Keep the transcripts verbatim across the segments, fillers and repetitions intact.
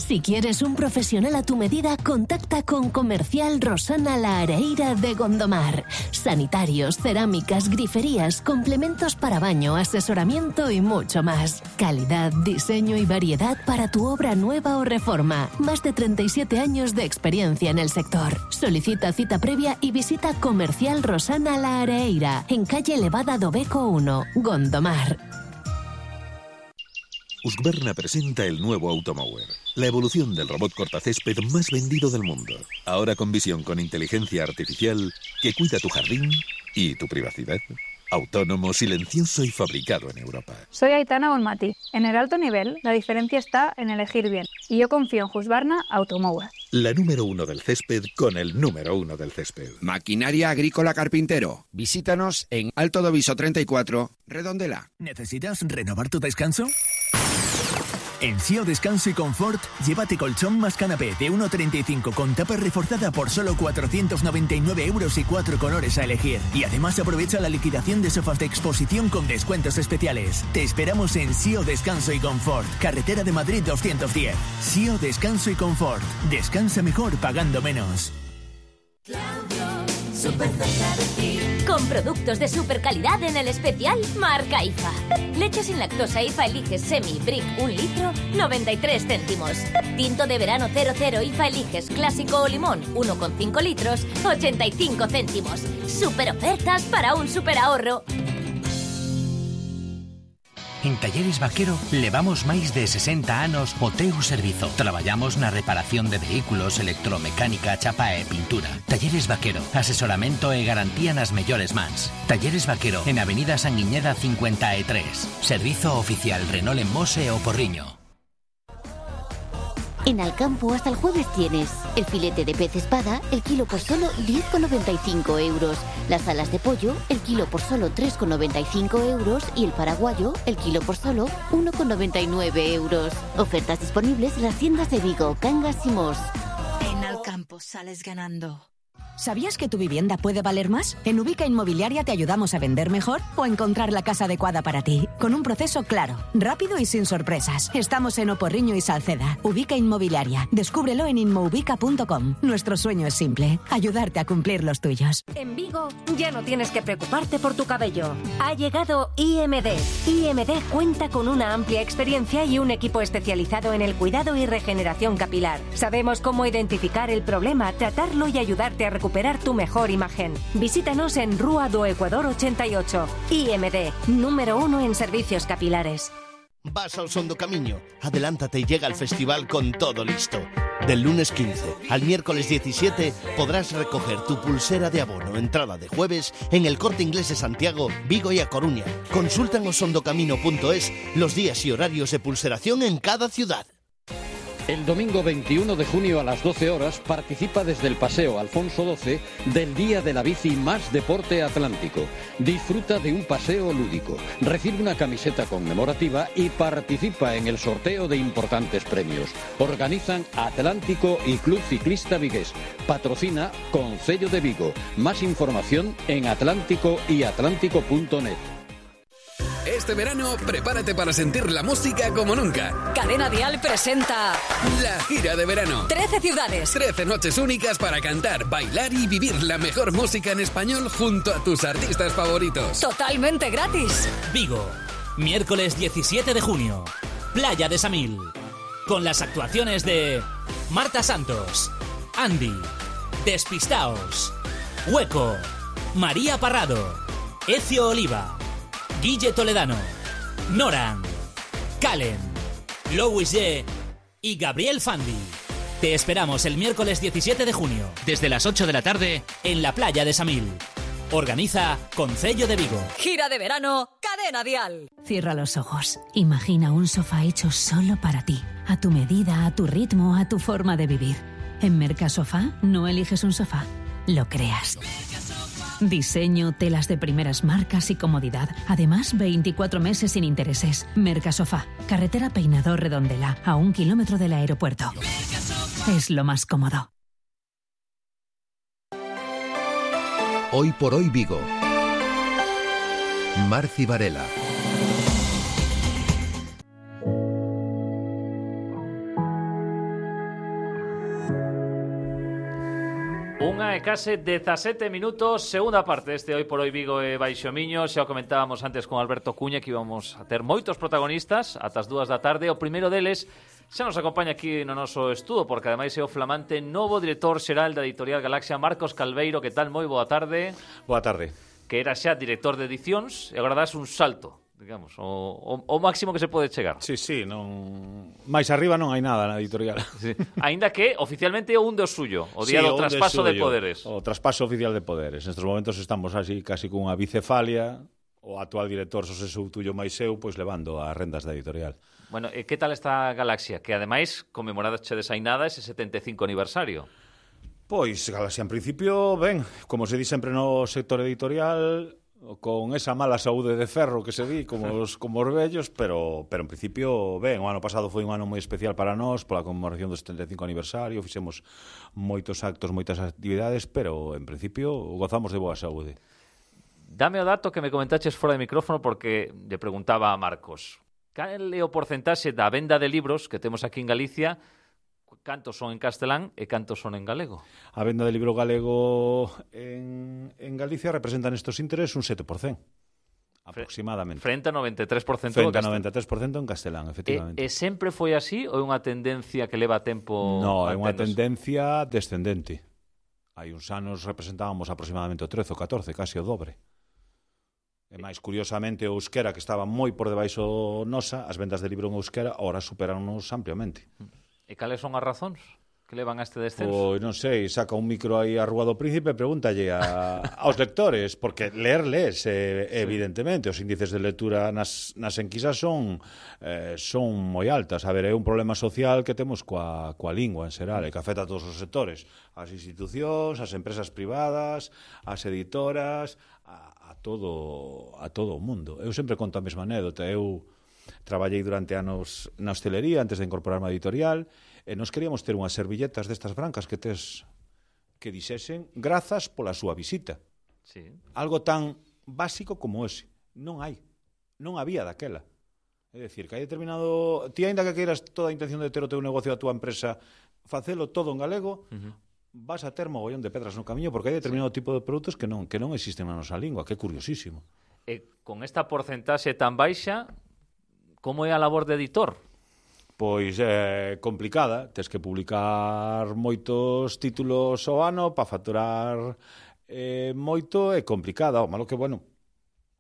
Si quieres un profesional a tu medida, contacta con Comercial Rosana La Areira de Gondomar. Sanitarios, cerámicas, griferías, complementos para baño, asesoramiento y mucho más. Calidad, diseño y variedad para tu obra nueva o reforma. Más de treinta y siete años de experiencia en el sector. Solicita cita previa y visita Comercial Rosana La Areira, en calle Elevada do Beco uno, Gondomar. Husqvarna presenta el nuevo Automower, la evolución del robot cortacésped más vendido del mundo. Ahora con visión con inteligencia artificial que cuida tu jardín y tu privacidad. Autónomo, silencioso y fabricado en Europa. Soy Aitana Bonmati. En el alto nivel, la diferencia está en elegir bien. Y yo confío en Husqvarna Automower. La número uno del césped con el número uno del césped. Maquinaria Agrícola Carpintero. Visítanos en Alto do Viso treinta y cuatro, Redondela. ¿Necesitas renovar tu descanso? En S I O Descanso y Confort, llévate colchón más canapé de uno treinta y cinco con tapa reforzada por solo cuatrocientos noventa y nueve euros y cuatro colores a elegir. Y además aprovecha la liquidación de sofás de exposición con descuentos especiales. Te esperamos en S I O Descanso y Confort, carretera de Madrid doscientos diez. S I O Descanso y Confort. Descansa mejor pagando menos. Súper cerca de ti. Con productos de super calidad en el especial Marca I F A. Leche sin lactosa I F A Eliges Semi Brick un litro, noventa y tres céntimos. Tinto de verano cero cero I F A Eliges Clásico o Limón uno coma cinco litros, ochenta y cinco céntimos. Super ofertas para un super ahorro. En Talleres Vaquero levamos máis de sesenta anos o teu servizo. Traballamos na reparación de vehículos, electromecánica, chapa e pintura. Talleres Vaquero, asesoramento e garantía nas mellores mans. Talleres Vaquero, en Avenida Sanguiñeda cincuenta e tres. Servizo oficial Renault en Mos e O Porriño. En Alcampo hasta el jueves tienes el filete de pez espada, el kilo por solo diez con noventa y cinco euros, las alas de pollo, el kilo por solo tres con noventa y cinco euros y el paraguayo, el kilo por solo uno con noventa y nueve euros. Ofertas disponibles en las tiendas de Vigo, Cangas y Mos. En Alcampo sales ganando. ¿Sabías que tu vivienda puede valer más? En Ubica Inmobiliaria te ayudamos a vender mejor o encontrar la casa adecuada para ti, con un proceso claro, rápido y sin sorpresas. Estamos en Oporriño y Salceda. Ubica Inmobiliaria. Descúbrelo en inmoubica punto com. Nuestro sueño es simple, ayudarte a cumplir los tuyos. En Vigo ya no tienes que preocuparte por tu cabello. Ha llegado I M D. I M D cuenta con una amplia experiencia y un equipo especializado en el cuidado y regeneración capilar. Sabemos cómo identificar el problema, tratarlo y ayudarte a recuperar tu mejor imagen. Visítanos en Rúa do Ecuador ochenta y ocho. I M D, número uno en servicios capilares. Vas al Son do Camiño, adelántate y llega al festival con todo listo. Del lunes quince al miércoles diecisiete podrás recoger tu pulsera de abono entrada de jueves en el Corte Inglés de Santiago, Vigo y A Coruña. Consulta en osondocamino punto es los días y horarios de pulseración en cada ciudad. El domingo veintiuno de junio a las doce horas participa desde el Paseo Alfonso doce del Día de la Bici más Deporte Atlántico. Disfruta de un paseo lúdico, recibe una camiseta conmemorativa y participa en el sorteo de importantes premios. Organizan Atlántico y Club Ciclista Vigués. Patrocina Concello de Vigo. Más información en atlántico y atlántico punto net. Este verano, prepárate para sentir la música como nunca. Cadena Dial presenta la gira de verano. trece ciudades. trece noches únicas para cantar, bailar y vivir la mejor música en español junto a tus artistas favoritos. Totalmente gratis. Vigo, miércoles diecisiete de junio. Playa de Samil. Con las actuaciones de Marta Santos, Andy, Despistaos, Hueco, María Parrado, Ezio Oliva, Guille Toledano, Noran, Calen, Louis G y Gabriel Fandi. Te esperamos el miércoles diecisiete de junio, desde las ocho de la tarde, en la playa de Samil. Organiza Concello de Vigo. Gira de verano, Cadena Dial. Cierra los ojos. Imagina un sofá hecho solo para ti, a tu medida, a tu ritmo, a tu forma de vivir. En Mercasofá no eliges un sofá, lo creas. Diseño, telas de primeras marcas y comodidad. Además, veinticuatro meses sin intereses. Mercasofá, carretera Peinador Redondela, a un kilómetro del aeropuerto. Es lo más cómodo. Hoy por hoy Vigo. Marci Varela. Unha e case dezasete minutos, segunda parte deste Hoy por Hoy Vigo e Baixo Miño. Xa o comentábamos antes con Alberto Cuña que íbamos a ter moitos protagonistas ata as dúas da tarde. O primeiro deles xa nos acompaña aquí no noso estudo, porque ademais é o flamante novo director xeral da Editorial Galaxia, Marcos Calveiro. Que tal? Moi boa tarde. Boa tarde. Que era xa director de edicións e agora das un salto, digamos, o, o, o máximo que se pode chegar. Sí, sí, non... máis arriba non hai nada na editorial. Sí. Ainda que oficialmente é un do suyo, o día sí, do traspaso de, de poderes. O traspaso oficial de poderes. Nestes momentos estamos así casi cunha bicefalia, o actual director Xosé Soutullo máis eu, pois levando as rendas da editorial. Bueno, e que tal esta Galaxia? Que ademais conmemorada che desainada ese setenta e cinco aniversario. Pois, Galaxia, en principio, ben, como se di sempre no sector editorial, con esa mala saúde de ferro que se di, como os, como os vellos, pero, pero en principio, ben, o ano pasado foi un ano moi especial para nós, pola conmemoración do setenta e cinco aniversario, fixemos moitos actos, moitas actividades, pero en principio gozamos de boa saúde. Dame o dato que me comentaches fora de micrófono, porque lle preguntaba a Marcos. Cal é o porcentaxe da venda de libros que temos aquí en Galicia? Cantos son en castelán e cantos son en galego? A venda de libro galego en, en Galicia representa nestos intereses un sete por cento, aproximadamente. Frente a noventa e tres por cento Frente a noventa e tres por cento en castelán, efectivamente. E, e sempre foi así ou é unha tendencia que leva tempo? No, é unha tendencia descendente. Hai uns anos representábamos aproximadamente o trece ou catorce, casi o dobre. E máis curiosamente o euskera, que estaba moi por debaixo nosa, as vendas de libro en euskera, ahora superan-nos ampliamente. E cales son as razóns que levan a este descenso? Pois non sei, saca un micro aí a Rúa do Príncipe e pregúntalle a, aos lectores, porque ler les, eh, sí. Evidentemente, os índices de lectura nas, nas enquisas son eh, son moi altas. A ver, é un problema social que temos coa, coa lingua en xeral, e que afecta a todos os sectores, as institucións, as empresas privadas, as editoras, a, a todo a todo o mundo. Eu sempre conto a mesma anécdota. Eu traballei durante anos na hostelería antes de incorporarme a editorial e nos queríamos ter unhas servilletas destas brancas que tes que dixesen grazas pola súa visita. Sí. Algo tan básico como ese. Non hai. Non había daquela. É dicir, que hai determinado... Ti, aínda que queiras toda a intención de ter o teu negocio a túa empresa, facelo todo en galego, uh-huh. vas a ter mogollón de pedras no camiño porque hai determinado sí. tipo de produtos que non que non existen na nosa lingua, que é curiosísimo. E con esta porcentaxe tan baixa, como é a labor de editor? Pois é complicada, tes que publicar moitos títulos ao ano para facturar eh, moito, é complicada. O malo que, bueno,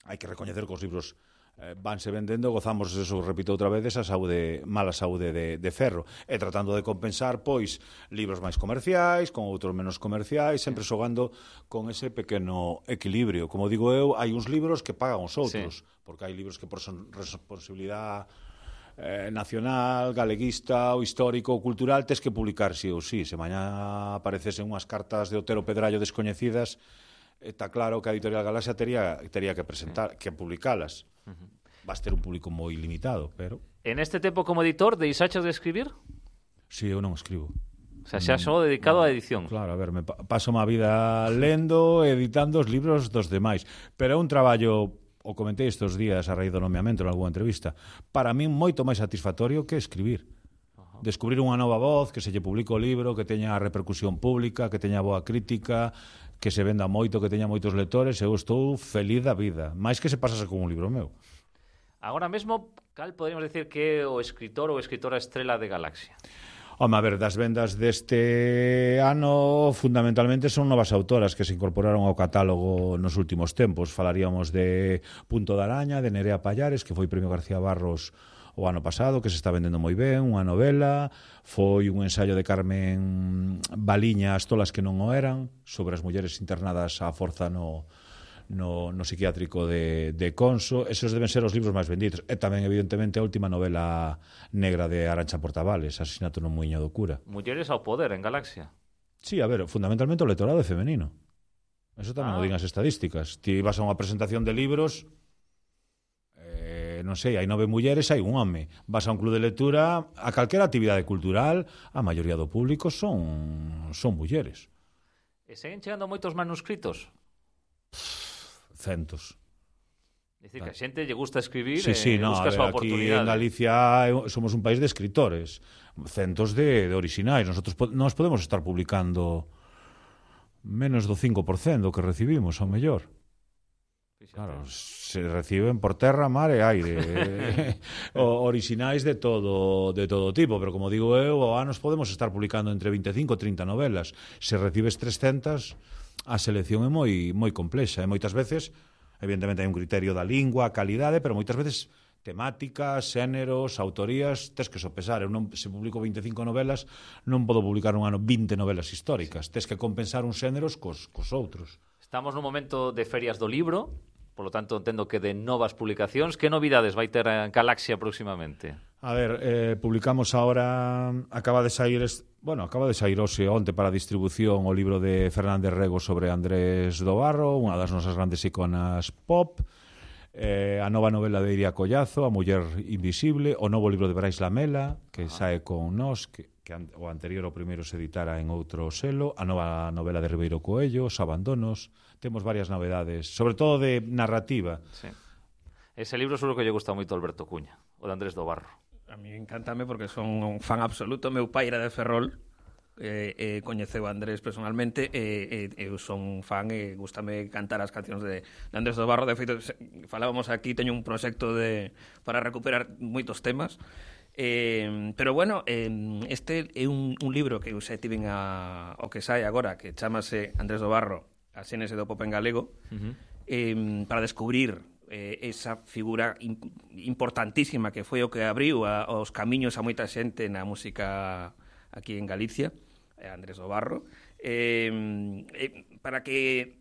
hai que recoñecer que os libros eh, vanse vendendo, gozamos, eso repito outra vez, esa saúde, mala saúde de, de ferro, e tratando de compensar, pois, libros máis comerciais, con outros menos comerciais, sempre xogando con ese pequeno equilibrio. Como digo eu, hai uns libros que pagan os outros, sí. porque hai libros que por son responsabilidade eh, nacional, galeguista, ou histórico, ou cultural, tes que publicar sí ou sí. Se mañá aparecesen unhas cartas de Otero Pedrallo descoñecidas, está claro que a Editorial Galaxia tería, tería que presentar, que publicalas. Uh-huh. Vas ter un público moi limitado, pero... En este tempo como editor, deixaches de escribir? Si, sí, eu non escribo. O sea, xa só dedicado no, á edición. Claro, a ver, me paso má vida lendo, editando os libros dos demais. Pero é un traballo, o comentei estes días a raíz do nomeamento en algunha entrevista, para min moito máis satisfactorio que escribir. Uh-huh. Descubrir unha nova voz, que se lle publique o libro, que teña repercusión pública, que teña boa crítica, que se venda moito, que teña moitos lectores, eu estou feliz da vida, máis que se pasase con un libro meu. Agora mesmo, cal poderíamos decir que é o escritor ou escritora estrela de Galaxia? Home, a ver, das vendas deste ano fundamentalmente son novas autoras que se incorporaron ao catálogo nos últimos tempos. Falaríamos de Punto de Araña, de Nerea Pallares, que foi Premio García Barros o ano pasado, que se está vendendo moi ben, unha novela, foi un ensaio de Carmen Baliña, As tolas que non o eran, sobre as mulleres internadas á forza no, no, no psiquiátrico de, de Conso. Esos deben ser os libros máis vendidos. E tamén, evidentemente, a última novela negra de Arantxa Portavales, Asesinato no Muiño do Cura. Mulleres ao poder en Galaxia. Sí, a ver, fundamentalmente o lectorado é femenino. Eso tamén ah. o din as estadísticas. Ti vas a unha presentación de libros... non sei, hai nove mulleres, hai un home. Vas a un club de lectura, a calquera actividade cultural, a maioría do público son son mulleres. E seguen chegando moitos manuscritos? Centos. Dicir que a xente lle gusta escribir sí, sí, e no, busca a súa oportunidade. Aquí en Galicia somos un país de escritores, centos de, de orixinais. Nosotros nós podemos estar publicando menos do cinco por cento que recibimos, ao mellor. Claro, se reciben por terra, mar e aire. o, orixinais de todo de todo tipo, pero como digo eu, ao anos podemos estar publicando entre vinte e cinco e trinta novelas. Se recibes trescentas, a selección é moi moi complexa, e moitas veces, evidentemente hai un criterio da lingua, calidade, pero moitas veces temáticas, xéneros, autorías, tes que sopesar. Eu non, se publico vinte e cinco novelas, non podo publicar un ano vinte novelas históricas. Tes que compensar uns xéneros cos, cos outros. Estamos nun momento de ferias do libro, por lo tanto entendo que de novas publicacións. Que novidades vai ter en Galaxia próximamente? A ver, eh, publicamos ahora, acaba de sair, bueno, acaba de sair hoxe onte para distribución o libro de Fernández Rego sobre Andrés do Barro, unha das nosas grandes iconas pop. Eh, a nova novela de Iria Collazo, A muller invisible, o novo libro de Brais Lamela, que ah. sae con nós, que, que an, o anterior ao primeiro se editara en outro selo, a nova novela de Ribeiro Coello, Os abandonos. Temos varias novedades, sobre todo de narrativa. Sí. Ese libro seguro que lle gusta moito a Alberto Cuña, o de Andrés do Barro. A mí encántame porque son un fan absoluto. Meu pai era de Ferrol, eh, eh, coñeceu a Andrés personalmente, e eh, eu son fan e gustame cantar as cancións de, de Andrés do Barro. De feito, falábamos aquí, teño un proxecto de, para recuperar moitos temas. Eh, pero bueno, eh, este é un, un libro que eu xa tiven a, o que sai agora, que chamase Andrés do Barro, a xénese do pop en galego, uh-huh. eh, para descubrir eh, esa figura in, importantísima que foi o que abriu a, os camiños a moita xente na música aquí en Galicia, Andrés do Barro, eh, eh, para que